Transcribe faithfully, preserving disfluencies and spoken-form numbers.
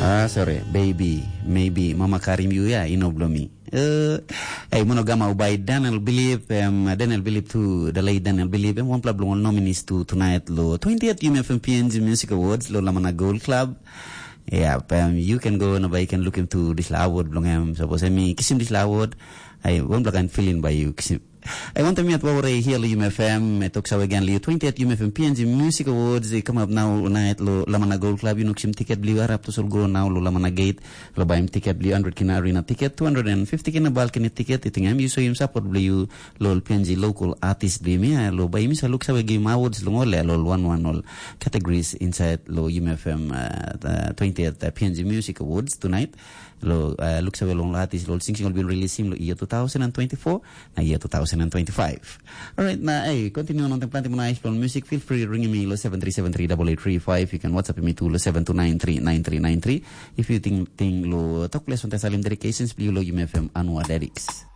Ah, sorry, baby, maybe mama karim yu ya, ino bilong mi. Uh, hey, mono gamau by Daniel Believe, um, Daniel Believe tu, the late Daniel Believe, em wanpela bilong ol nominees tu tonight lo twentieth U M F M P N G Music Awards lo Lamana Gold Club. Yeah, um, you can go na by you can look him to this award bilong em. Suppose em kisim this award, I wanpela kain feeling by you kisim. I want to meet over here lo U M F M, I talk so again lo twentieth U M F M P N G Music Awards, they come up now night lo Lamana Gold Club, you know, kisim ticket bli arap to sol go now lo Lamana Gate, lo baim ticket bli hundred kina arena ticket, two hundred fifty kina balcony ticket, I think I'm you so him support bli you lo P N G local artist bli me, lo by him sa look so game awards lo ngole lo one one all categories inside lo U M F M uh, twentieth uh, P N G Music Awards tonight. Lo uh, look so long artist lo sing sing been release him lo year two thousand and twenty-four na year two thousand and twenty-five. Alright, na hey, continue on the planting nice lo music. Feel free ring me lo seven three seven three double eight three five. You can WhatsApp me to lo seven two nine three nine three nine three. If you think thing lo talk less on the Salim dedications, please lo U M F M annual lyrics.